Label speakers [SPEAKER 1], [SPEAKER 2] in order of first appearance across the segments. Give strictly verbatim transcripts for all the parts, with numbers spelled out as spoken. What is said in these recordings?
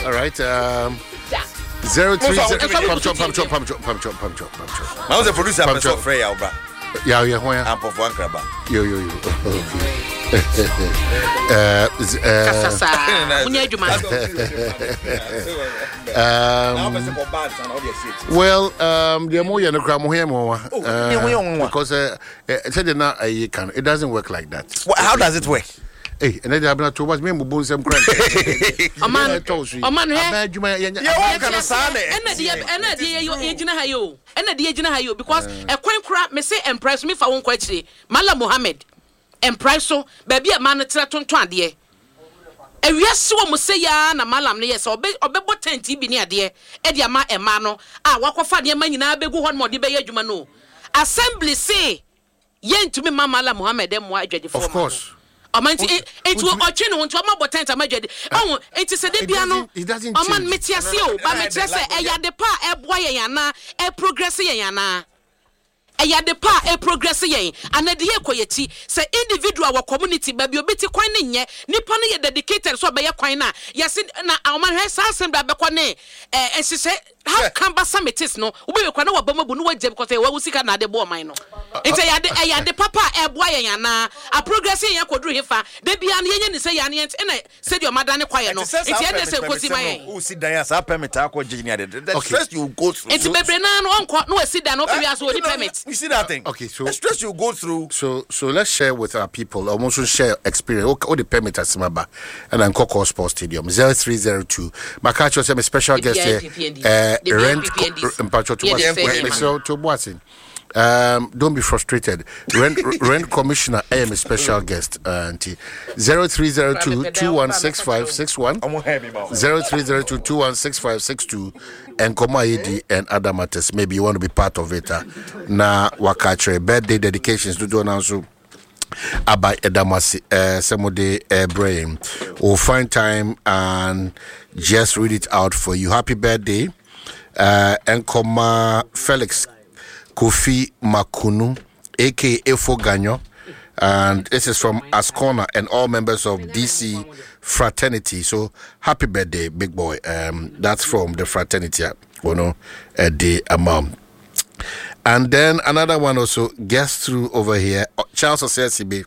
[SPEAKER 1] All right. Um, zero three zero. Pam chop, pam chop, pam chop, pam chop, pam chop, pam chop.
[SPEAKER 2] Ma wo sɛ producer pɛ sɛ ɔfrɛ yɛ wo.
[SPEAKER 1] Yeah, yeah, why?
[SPEAKER 2] Ampɔfo ankraba.
[SPEAKER 1] Yo, yo, yo. Okay. uh, z- uh,
[SPEAKER 3] Kasa saa wonyɛ adwuma.
[SPEAKER 1] um, well, um, the more you know, more here, more. Because uh, uh, said na uh, can it doesn't work like that.
[SPEAKER 2] Well, how does it work?
[SPEAKER 1] Hey, and then I'm not too much. Me, mbu nsɛm kura.
[SPEAKER 3] Ɔman ɔman hɛ.
[SPEAKER 2] Yeah, wɔn kana saa na
[SPEAKER 3] ɛna deɛ ɛna deɛ yɛ yɛgyina ha yi o, ɛna deɛ yɛgyina ha yi o, because ɛkwan kora me se mpra so mefa wo nkɔ akyire. Malam Mohammed mpra so baabi a maa no tena tontɔn adeɛ ewiase wɔ mo sɛ yaa na malam no yɛ sɛ ɔbɛ ɔbɛbɔ tent bi ne adeɛ ɛde ama ɛmaa no a wakɔfa nneɛma nyinaa bɛgu hɔ nom a ɔde bɛyɛ adwuma no o. Assembly se yɛntumi ma Malam Mohammed mmoa adwadifoɔ.
[SPEAKER 1] Of course.
[SPEAKER 3] Ɔma nti nti ɔtwe ne ho nti ɔma bɔ tent ama adwadi ɔho nti sɛ de bia no
[SPEAKER 1] It doesn't- it doesn't
[SPEAKER 3] ɔma
[SPEAKER 1] change.
[SPEAKER 3] mete ase o, ba mekyerɛ sɛ ɛyɛ ade pa a ɛboa yɛn anaa ɛprogress yɛn anaa ɛyɛ ade pa a ɛprogress yɛn anaa de yɛ kɔ yɛkyi sɛ individual wɔ community baabi obi te kwan ne nyɛ nipa no yɛ dedicated sɛ ɔbɛyɛ kwan no a yɛse na ɔma hwɛ saa asɛm da bɛkɔ ne ɛɛ nhyehyɛ how cumbersome it is no, wobɛyɛ kwan na waba mu abu no wagya because ɛyɛ wawu sika na ade bɔ ɔman no. Nti ɛyɛ ade ɛyɛ ade papa a ɛboa yɛn anaa aprogress yɛn akɔduru hefa da bia no yɛnyɛ ne sɛ yɛn yɛn ɛna sɛdeɛ ɔma ne kwaeɛ no nti ɛnɛ sɛ nkosi ma yɛn.
[SPEAKER 2] Wosi dan a saa permit akɔ gye ni ade, the
[SPEAKER 1] Okay.
[SPEAKER 2] stress you go through.
[SPEAKER 3] Nti bebree naa no ɔnkɔ na wasi dan no wopɛ wiase wɔni permit.
[SPEAKER 2] You see that thing?
[SPEAKER 1] Okay, so-
[SPEAKER 2] the stress you go through.
[SPEAKER 1] So so let's share with our people. Almost share experience. Okay, all the permit asimaba and then Koko Sports Stadium zero three zero two. My catch was a special guest here. Uh,
[SPEAKER 3] The
[SPEAKER 1] rent
[SPEAKER 3] P P N Ds.
[SPEAKER 1] Mpacho to
[SPEAKER 3] Yeah, the same.
[SPEAKER 1] so to Boatin. Um, don't be frustrated. Rent rent commissioner, I am a special guest. Uh, zero three zero two two one six five six one.
[SPEAKER 2] Ɔmo hɛ mi ma wo.
[SPEAKER 1] Zero three zero two two one six five six two and Koma A D and other matters. Maybe you want to be part of it. Uh, na wakachre birthday dedications to do announce aba edamasi uh somebody uh brain. We'll find time and just read it out for you. Happy birthday. Uh Nkoma Felix Kofi Makunu, A K A Efo Ganyo. And this is from Ascona and all members of D C fraternity. So happy birthday, big boy. Um, that's from the fraternity, you know, at the amount. And then another one also gets through over here. Uh, Charles Osesibe.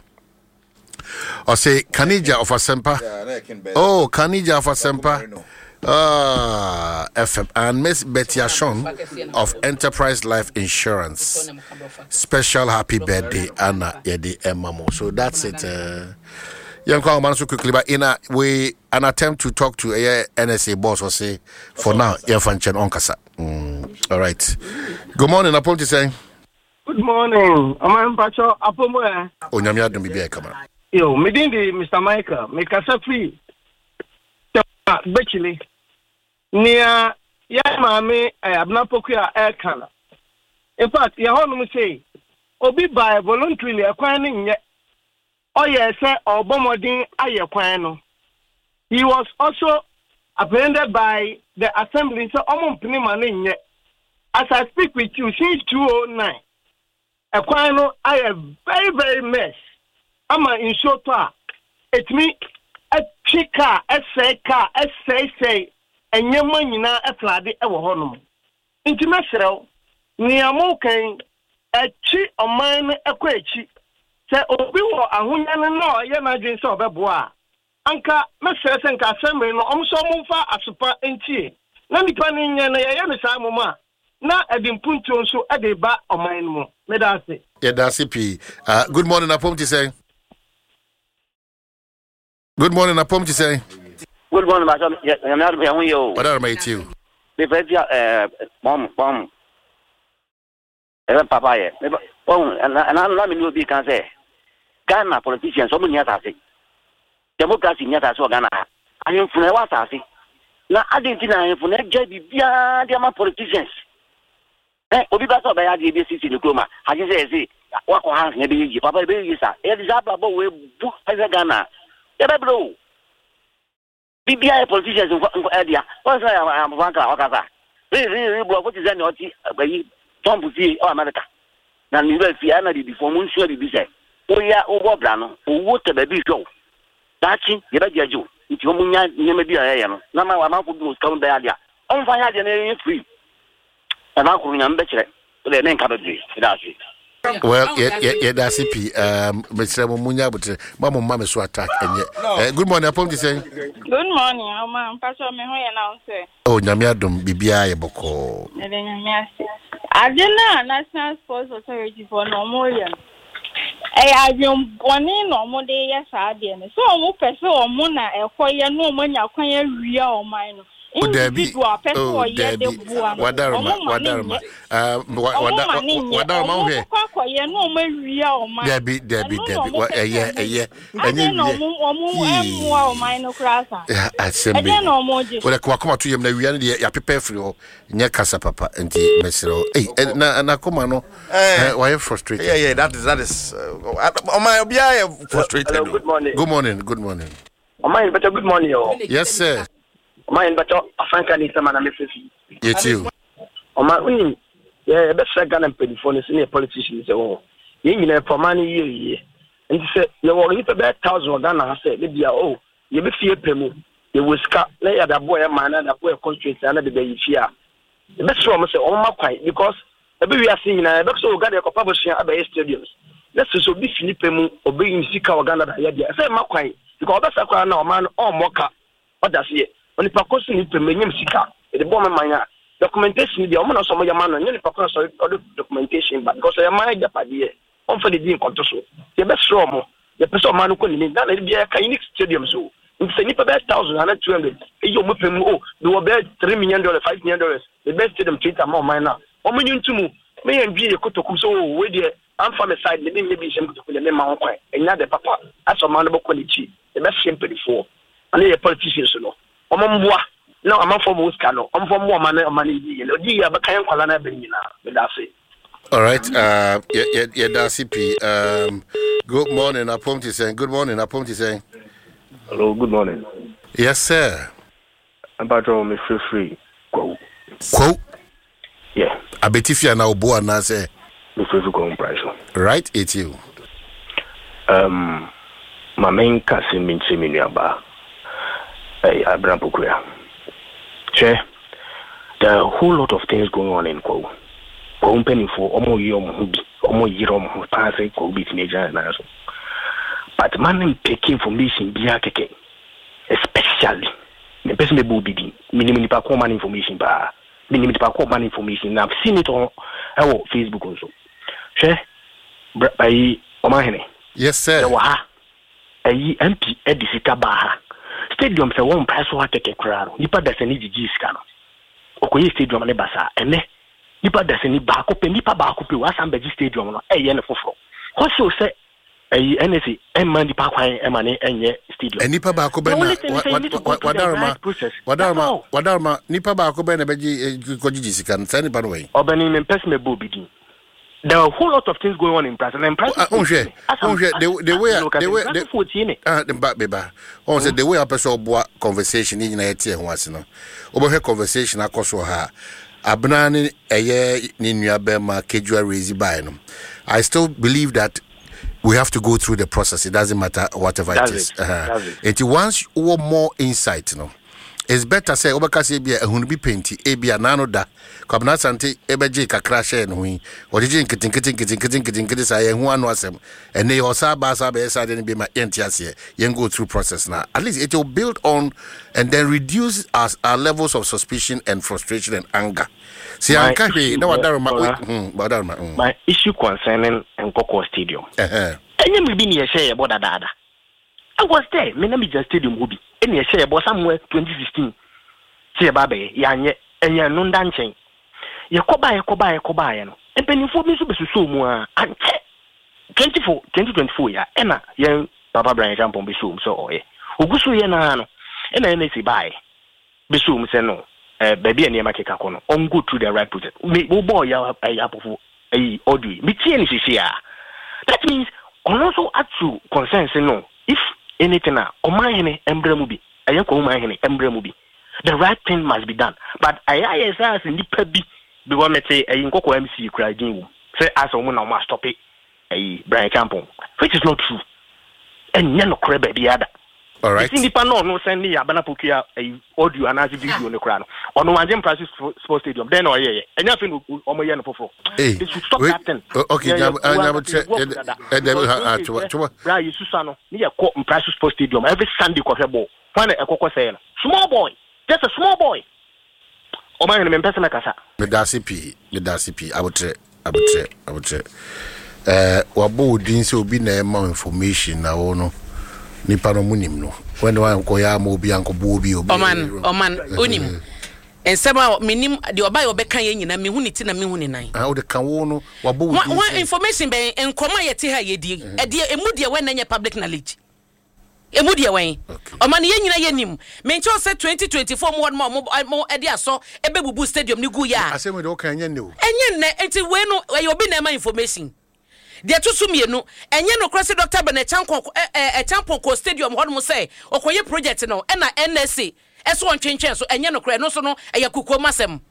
[SPEAKER 1] Or say Kanija of Asempa.
[SPEAKER 2] Yeah, na ɛkin bɛɛ.
[SPEAKER 1] Oh, Kanija of Asempa.
[SPEAKER 2] Marino.
[SPEAKER 1] Ah, F M and Miss Betty Ashon of Enterprise Life Insurance. Special happy birthday, Anna Yedi Emamo. So that's it. Uh, Young man so quickly, but in a we an attempt to talk to a N S A boss or say for now, yeah, function on kasa. Mm, all right. Good morning, Apollo saying.
[SPEAKER 4] Good morning. Ɔman mpatsɔ apomu ɛ.
[SPEAKER 1] Onyame adom bibi kama.
[SPEAKER 4] Yo, me din de Mister Michael. Mekasa firi Tema Bɛkyili. Nea yɛ maame ɛ Abena Poku a ɛreka no. In fact, yɛ hɔnom sei, obi baa voluntarily, ɛkwan no nyɛ. Ɔyɛ sɛ ɔbɔ mmɔden ayɛ kwan no. He was also apprehended by the assembly sɛ ɔmo mpene ma no nyɛ. As I speak with you, since two thousand nine, ɛkwan no ayɛ very very mess ama nsuo tɔ a etumi ɛtwi kaa, ɛsɛe kaa, ɛsɛesɛe nneɛma nyinaa, ɛflood ɛwɔ hɔnom. Nti mɛsrɛw nea mo kan ɛkyi ɔman no ɛkɔ akyi sɛ obi wɔ ahonya no na ɔyɛ n'adwene sɛ ɔbɛboa a, anka mɛsrɛ sɛ nka assembly no ɔmo nso ɔmo mfa asopa ntie na nipa no nyɛ no yɛyɛ no saa mom a na ɛde mpuntuo nso ɛde ba ɔman no mu. Meda ase.
[SPEAKER 1] Yeah, that's it. Uh, good morning, Apom saying. Good morning, Apom saying.
[SPEAKER 5] Good morning, Pastor. Nyame adom yɛn ho yɛ o.
[SPEAKER 1] What are my two?
[SPEAKER 5] Mepɛ fi ɛɛ bɔm bɔm. Ɛbɛ papa yɛ. Mepɛ ɔhun ɛna ɛna na mi ni obi kan sɛ Ghana politicians ɔmo ni asase. Democracy ni asase wɔ Ghana ha. Ahemfo na ɛwɔ asase. Na adi nti na ahemfo na ɛgya biribiara de ama politicians. Ɛ obi ba sɛ ɔbɛyɛ adeɛ bi esisi ne kurom a agye sɛ ɛsɛ wakɔ ha na ɛbɛyɛ yie papa, ɛbɛyɛ yie sa ɛyɛ de saa abrabɔ wo ebu ɛsɛ Ghana yɛbɛbrɛ o. Biribiara yɛ politicians nkɔ nkɔ ɛdea wɔn sɛ amofa nkra ɔkasa rii rii rii borɔfo te sɛ nea ɔte ayi Trump fie ɛwɔ America na ne wura fie ɛna bibifoɔ mo nsua biribi sɛ woyɛ wobɔ bra no owuo tɛ baabi hwɛ wo daakye yɛbɛgye agye wo. Nti ɔmo nya nneɛma bi a yɛyɛ no na ma amanfo bi wɔ sika mu bɛyɛ adeɛ a ɔmfa yɛ adeɛ no ɛyɛ free. Ɛna akoro Nyame bɛkyerɛ wode ne nka bebree. Ɛda ase.
[SPEAKER 1] Well, yɛda ase pii. um, mesrɛ mo, munya abotrɛ ma mo mma me so attack ɛnyɛ. Eh, good morning, apɔm te sɛn?
[SPEAKER 6] Good morning, Oma. Mpacho me ho yɛ na wo sɛ?
[SPEAKER 1] Oh, Nyame adom, biribiaa yɛ bɔkɔɔ.
[SPEAKER 6] Mede Nyame ase. Ade no a National Sports Authority foɔ na ɔmo yɛ no, ɛyɛ adwenbɔne na ɔmo de yɛ saa adeɛ no. Sɛ ɔmo pɛ sɛ ɔmo na ɛkɔyɛ na ɔmo anya kwan awia ɔman no.
[SPEAKER 1] Oh, dabi.
[SPEAKER 6] Individual pɛ sɛ
[SPEAKER 1] Oh,
[SPEAKER 6] ɔyɛ de
[SPEAKER 1] dabi.
[SPEAKER 6] boa no.
[SPEAKER 1] Wadaroma.
[SPEAKER 6] Ɔmo ma ne
[SPEAKER 1] Wadaroma.
[SPEAKER 6] nyɛ.
[SPEAKER 1] Ah, wa-
[SPEAKER 6] Ɔmo
[SPEAKER 1] wada-
[SPEAKER 6] ma ne
[SPEAKER 1] wa-
[SPEAKER 6] nyɛ.
[SPEAKER 1] wadaroma
[SPEAKER 6] Ɔmo
[SPEAKER 1] wohwɛ
[SPEAKER 6] kɔ akɔyɛ na ɔmo awia ɔman.
[SPEAKER 1] Dabi, dabi.
[SPEAKER 6] Ɛno na
[SPEAKER 1] Dabi.
[SPEAKER 6] ɔmo
[SPEAKER 1] Wa-
[SPEAKER 6] pɛ sɛ
[SPEAKER 1] ɛyɛ
[SPEAKER 6] ɔmo
[SPEAKER 1] ɛyɛ
[SPEAKER 6] yɛ.
[SPEAKER 1] Ɛnyɛ
[SPEAKER 6] Adɛn na
[SPEAKER 1] wie
[SPEAKER 6] ɔmo ɔmo ɛmmoa ɔman no koraa saa?
[SPEAKER 1] Eh, asɛm bi
[SPEAKER 6] Ɛdɛn na ɔmo gye?
[SPEAKER 1] Wode wakoma to yam na wia no deɛ yɛapepɛ afiri hɔ. Nyɛ kasa papa nti mesrɛ wo. Ei, eh, na na koma no
[SPEAKER 2] Eh.
[SPEAKER 1] eh, wayɛ frustrated.
[SPEAKER 2] Yeah, yeah, that is that is. Uh, ɔman obiara yɛ frustrated.
[SPEAKER 4] Hello, good morning.
[SPEAKER 1] Good morning, good morning.
[SPEAKER 4] Ɔman better, good morning o.
[SPEAKER 1] Yes sir.
[SPEAKER 4] Ɔman better, afanka ne nsɛm ana mefefi.
[SPEAKER 1] Yɛtie o.
[SPEAKER 4] Ɔman wonim yɛ yɛbɛsrɛ Ghana mpanimfoɔ no sɛ ne yɛ politician sɛ wɔ yɛn nyinaa pɛ ɔman no yie yie, nti sɛ yɛwɔ nnipa bɛyɛ thousand wɔ Ghana ha sɛ ne bia o yɛbɛfie pɛ mu, yɛwɔ sika na yɛde aboa yɛ man na yɛde aboa yɛ constituency na de bɛyi fie a, yɛbɛsrɛ wɔn sɛ wɔn ma kwan, because ɛbɛ wiase nyinaa yɛbɛkɔ sɛ wɔ Ghana yɛkɔpa abosua abɛyɛ stadiums na sɛ sɛ obi fi nipa mu ɔbɛyi ne sika wɔ Ghana da yɛ deɛ ɛsɛ ɛma kwan, because ɔbɛsa koraa na ɔman no ɔmmɔ ka ɔda seɛ onipa kɔ so nipa mu enyim sika yɛde bɔ ɔmo man a documentation deɛ ɔmo na sɛ ɔmo yɛ ma no nyɛ nipa kɔ na sɛ ɔde documentation ba, because ɔyɛ man agyapadeɛ, ɔmfa de di nkɔnto so. Yɛbɛsrɛ ɔmo, yɛpɛ sɛ ɔman no kɔ n'anim. Ghana de biara ka unique stadium so, nti sɛ nipa bɛyɛ thousand ana two hundred eyi ɔmo pɛ mu o de wɔ bɛyɛ three million dollars, five million dollars, the best stadium twenty ama ɔman na ɔmo nyi ntum meyɛ ndwi yɛ kotokum so o wei deɛ amfa me side ne bi nyɛ bi nhyɛm kotokum deɛ mema ho kwan ɛnya de papa asɛ ɔman no bɛkɔ n'akyi. Yɛbɛhyɛ mpanimfoɔ ane yɛ politicians no, ɔmo mboa na amanfoɔ mo sika no ɔmfɔ mmoa ɔman no, ɔman no yi yɛ ɔdi yɛ abɛka yɛn nkwalaa no abɛn nyinaa. Meda ase.
[SPEAKER 1] All right. Uh, yeah, yeah, yeah, P. Um, good morning, Apom te sɛn. Good morning, Apom te sɛn.
[SPEAKER 7] Hello, good morning.
[SPEAKER 1] Yes, sir.
[SPEAKER 7] Mpacho me free free. Go.
[SPEAKER 1] Quote.
[SPEAKER 7] Yeah.
[SPEAKER 1] Abetifia na obo na say.
[SPEAKER 7] Me free free go price.
[SPEAKER 1] Right, it's you.
[SPEAKER 7] Um, ma main kase me nkyerɛ me nuaba. Hey, Abraham Pokuya. Che, there are a whole lot of things going on in Kwahu. Kwahu mpanimfoɔ ɔmo yɛ ɔmo ho bi, ɔmo yere ɔmo ho paa sɛ Kwahu bi tumi agyina ne nan so. But man n pick information biara kɛkɛ. Especially, mepɛ sɛ mebɔ obi din. Menim nipa ko ɔma no information paa. Menim nipa ko ɔma no information na I've seen it on ɛwɔ Facebook nso. Hwɛ, bra ayi ɔmahene.
[SPEAKER 1] Yes, sir.
[SPEAKER 7] Yɛwɔ ha. Ayi M P ɛde sika baa ha. Stadium sɛ wɔn mpae so ha kɛkɛ koraa no, nipa da sɛ ne gyigyi sika no. Ɔkɔyɛ stadium ne basa. Ɛnɛ, nipa da sɛ ni baako pɛ, nipa baako pɛ, wasan bɛgye stadium no, ɛyɛ ne foforɔ. Kɔsio sɛ ɛyi N S A ɛmma nipa kwan ɛma ne ɛnyɛ stadium.
[SPEAKER 1] Nipa baako bɛ na wadaroma wadaroma wadaroma nipa baako bɛ na bɛgye kɔgyegye sika no, saa nipa no wɔ yi.
[SPEAKER 7] Ɔbɛni mi mpɛ sɛ mɛ bɔ obi din. There are a whole lot of things going on in Brazil. And Brazil,
[SPEAKER 1] nhwɛ nhwɛ the the way the way the ah ba beba ɔn sɛ the way apɛ sɛ ɔboa conversation ne nyinaa yɛte ɛho ase no, wobɛhwɛ conversation akɔ so ha, Abena ne ɛyɛ ne nua bɛrima Kejua raise by no, I still believe that we have to go through the process. It doesn't matter whatever.
[SPEAKER 7] That's
[SPEAKER 1] it is.
[SPEAKER 7] it. That's it.
[SPEAKER 1] Nti once wɔ more insight no, it's better sɛ wobɛka sɛ ebia ehunu bi penti ebia n'ano da Kwabena Asante ebɛgye kakra hyɛ ne ho yi, ɔgyegye nketenkete nketenkete nketenkete saa yɛn ho ano asɛm ɛnɛ yɛ ɔsa ba asa bɛyɛ saa de no bi ma yɛnte aseɛ. Yɛn go through process na at least it will build on and then reduce our, our levels of suspicion and frustration and anger si
[SPEAKER 7] My
[SPEAKER 1] anka hwee na wadaroma
[SPEAKER 7] issue,
[SPEAKER 1] hmm wadaroma mm.
[SPEAKER 7] My issue concerning Nkoko Stadium.
[SPEAKER 1] Ɛhɛn.
[SPEAKER 7] Ɛnyɛ mmiri bi ne yɛhyɛ yɛbɔ dadaada. I was there. Me na me gyina stadium hɔ bi. Ɛna yɛhyɛ yɛbɔ somewhere twenty sixteen. Sɛ yɛba abɛyɛ, yɛanyɛ. Ɛnyɛ no nda nkyɛn. Yɛkɔbaa yɛkɔbaa yɛkɔbaa yɛ no. Mpanimfoɔ bi nso bɛsusoo mu a ankyɛ. twenty-four twenty twenty-four ya ɛna yɛn papa Brian Champon bɛsoo mu sɛ ɔyɛ. Ogu so yɛ naa no. Ɛna N S A baeɛ. Bɛsoo mu sɛ no. Eh, baabi a nneɛma keka kɔ no, ɔn go through the right process. Me wobɔɔ yɛ ɛyɛ apɔfo ɛyi audio yi. Metie ne sisi a. That means ɔno nso ato concern sɛ no, if anything a ɔman hene mbrɛ mu bi, ɛyɛ kɔn ɔman hene mbrɛ mu bi, the right thing must be done, but ɛyɛ ayɛ sɛ asɛ nipa bi because mete ɛyi Nkɔkɔ M C kura din wom sɛ asɛ ɔmo na ɔmo a stop ɛyi Brian Champon, which is not true. Ɛnyɛ nokorɛ baabi ada.
[SPEAKER 1] Alright.
[SPEAKER 7] Mesi nipa na ɔno sɛn ne yɛ Abena Pokuya ɛyi audio anaasɛ video ne koraa no, ɔno wangye Mpraso Sports Stadium dɛn na ɔyɛyɛ? Ɛnyɛ afei na ɔmo yɛ no foforɔ.
[SPEAKER 1] Hey,
[SPEAKER 7] They should stop
[SPEAKER 1] wait,
[SPEAKER 7] that thing.
[SPEAKER 1] o- okay,
[SPEAKER 7] Yɛ- yɛ-
[SPEAKER 1] nyab- ah,
[SPEAKER 7] yɛ-
[SPEAKER 1] nyabotrɛ,
[SPEAKER 7] yɛ- yɛ-
[SPEAKER 1] yɛ-
[SPEAKER 7] dada.
[SPEAKER 1] ɛ- dɛbi,
[SPEAKER 7] Because
[SPEAKER 1] ha, ah,
[SPEAKER 7] those
[SPEAKER 1] toba,
[SPEAKER 7] days,
[SPEAKER 1] toba.
[SPEAKER 7] bra yɛ susa no ne yɛ kɔ Mpraso Sports Stadium every Sunday kɔhwɛ ball. Hwan na ɛkɔkɔ sɛɛ no? Small boy, just a small boy. Ɔman yɛn no, mempɛ sɛ mɛkasa.
[SPEAKER 1] Medase pii, medase pii. Abotrɛ, abotrɛ, abotrɛ. Ɛɛ, wabɔ wo din sɛ obi na ɛma wo information, na wo no nipa no mu nim no wɔne wankɔyɛ ama obi ankɔbɔ obi obi.
[SPEAKER 3] Ɔman, ɔman, onim nsɛm a menim deɛ ɔba yɛ ɔbɛka yɛ nyinaa, mehu ne ti na mehu ne nan.
[SPEAKER 1] Ah, wode ka wo no wabɔ wo
[SPEAKER 3] Wa
[SPEAKER 1] din
[SPEAKER 3] wa
[SPEAKER 1] sɛ
[SPEAKER 3] information bɛn? Nkɔmɔ a yɛte ha yɛdi ɛdeɛ emu deɛ wɛn na nyɛ public knowledge? Emu deɛ wɛn?
[SPEAKER 1] Okay.
[SPEAKER 3] Ɔman yɛn nyinaa yɛ nim. Menkyɛw sɛ twenty twenty-four mu hɔ nom a ɔmo ɔmo ɛde asɔ ɛbɛbubu stadium ne gu yɛ a.
[SPEAKER 1] Asɛm de woka ɛnyɛ nnɛ o.
[SPEAKER 3] Ɛnyɛ nnɛ, nti wei no ɛyɛ obi na ɛma information. Deɛ ɛto so mmienu, ɛnyɛ nokorɛ sɛ Doctor Bernard Acheampong ɛ Acheampong kɔ stadium hɔ nom sɛ ɔkɔyɛ project no, ɛna N S A ɛso ɔntwentwɛn so. Ɛnyɛ nokorɛ. Ɛno nso no ɛyɛ kukuom asɛm.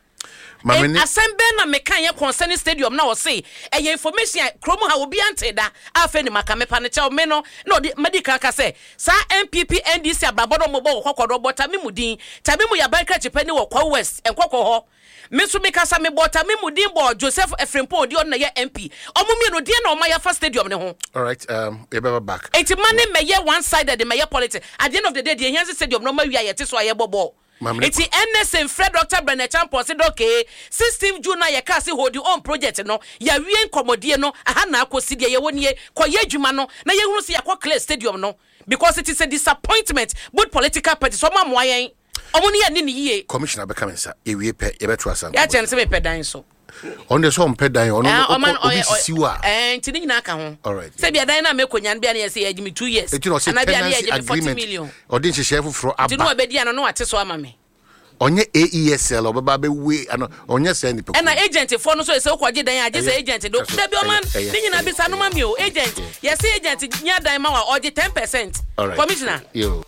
[SPEAKER 1] Maame ne
[SPEAKER 3] Asɛm bɛn na meka yɛ concerning stadium na ɔse ɛyɛ information a kurom ha obi ante da? Afei ne maka mepa no kyɛw me no na ɔde madi kan ka sɛ saa N P P N D C abrabɔ no ɔmɔbɔ wɔ kɔkɔdɔ bɔ tame mu din. Tame mu yɛ aban krakye ni wɔ Kwawu West nkɔkɔ hɔ. Me nso mekasa mebɔ tame mu din bɔ Joseph Frimpong odi, ɔno na yɛ M P. Ɔmo mmienu deɛ na ɔma yɛfa stadium ne ho.
[SPEAKER 1] Alright, um, yɛbɛba back.
[SPEAKER 3] Eti ma ne mɛyɛ one sided, mɛyɛ politics. At the end of the day, deɛ ehia sɛ stadium na ɔma wi a yɛte so a yɛbɔ bɔɔl.
[SPEAKER 1] Maame ne-
[SPEAKER 3] Eti N S A nfrɛ Doctor Bernard Acheampong sɛ dɔkee sixteen June na yɛka se hold on project no, yɛawie nkɔmmɔdie no aha na akɔsi deɛ yɛwɔ nie, kɔyɛ adwuma no na yɛhunu sɛ yɛakɔ clear stadium no, because it is a disappointment. Both political parties, ɔmo amoa yɛn, ɔmo ne yɛ ne ne yie.
[SPEAKER 1] Commissioner bɛka me nsa, yɛwie pɛ yɛbɛto asa.
[SPEAKER 3] Yɛakyɛ no sɛ mepɛ dan so.
[SPEAKER 1] Ɔno deɛ sɛ ɔmpɛ dan, ɔno
[SPEAKER 3] Ah,
[SPEAKER 1] no
[SPEAKER 3] ɔma
[SPEAKER 1] ɔkɔ- obi
[SPEAKER 3] ɔyɛ-
[SPEAKER 1] sisi wo a.
[SPEAKER 3] Ɛɛ, nti ne nyinaa ka ho.
[SPEAKER 1] Alright.
[SPEAKER 3] Sɛ bia dan no a mɛkɔnya no bia ne yɛ sɛ yɛgye me two years
[SPEAKER 1] Ɛti na ɔsɛ
[SPEAKER 3] anaa bia ne
[SPEAKER 1] tenancy
[SPEAKER 3] yɛgye me forty
[SPEAKER 1] agreement
[SPEAKER 3] million.
[SPEAKER 1] Ɔde nhyehyɛe foforɔ
[SPEAKER 3] Nti ne
[SPEAKER 1] aba.
[SPEAKER 3] wabɛdi ano na wate so ama me.
[SPEAKER 1] Ɔnyɛ A E S L ɔbɛba bɛwe ano, ɔnyɛ sɛ nipa.
[SPEAKER 3] Ɛna agent foɔ no nso yɛ sɛ wokɔgye dan a, gye sɛ
[SPEAKER 1] Ɛyɛ.
[SPEAKER 3] agent do
[SPEAKER 1] Ɛyɛ.
[SPEAKER 3] dabi ɔman
[SPEAKER 1] Ɛyɛ.
[SPEAKER 3] ne nyinaa bisa no ma mi o. Agent, yɛsɛ agent nya dan ma wa, ɔgye ten percent.
[SPEAKER 1] Alright.
[SPEAKER 3] Commissioner.
[SPEAKER 1] Yo.